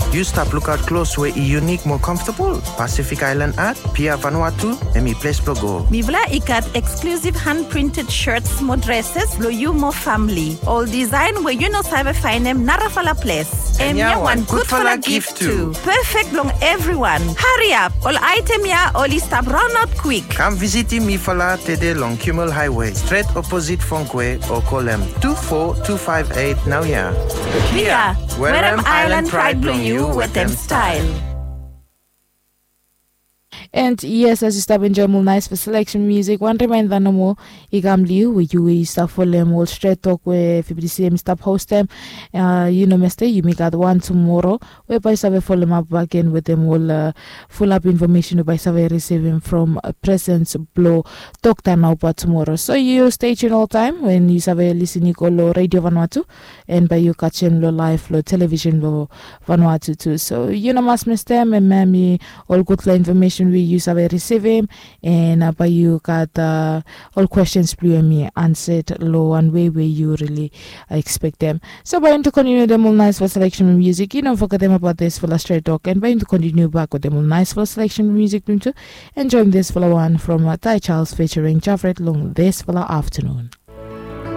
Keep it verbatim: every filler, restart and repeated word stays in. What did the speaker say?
Yu stap lukaot klos we i yunik mo komfotabol? Pacific Island Art, Pia Vanuatu, hemi ples blong go. Mifala i gat eksklusiv han printed shirts mo dresses blong yu mo famili. Ol disaen we yu no save faenem narafala ples. Hemia wan gudfala gif tu. Pefek blong evriwan. Hariap, ol aetem ya oli stap raonaot kwik. Kam visitim mifala tede long Kimmel Highway, stret oposit Fongkwe, o kolem tu fo tu faef eit naoia. Pia, werem Island Pride blong yu wetem stael. And yes, as yu stap enjoem ol naesfala seleksen musik, wan rimaenda nomo i kam long yu we yu we yu stap folem ol stret tok we F B C M i stap hostem. Yu no meste, yumi gat wan tumoro we bae yu save folemap bakegen wetem ol fulap infomesen we bae yu save risivim from presens blong Dokta Nauba tumoro. So yu stay tuned oltaem wen yu save lisin i go long Radio Vanuatu, and bae yu kajem long laev long television long Vanuatu tu. So yu no mas mistem, hemia hemi ol gudfala infomesen we yu save risivim, and bae yu gat ol kwestens blong yu hemi ansad long wan wei we yu rili ekspektem. So bae yumi tu kontiniu wetem ol naesfala seleksen musik. Yu no fogetem abaot disfala stret tok, and bae yumi tu kontiniu bak wetem ol naesfala seleksen musik blong yumi tu. Enjoem disfala wan from Tai Charles featuring Javret long disfala aftanun.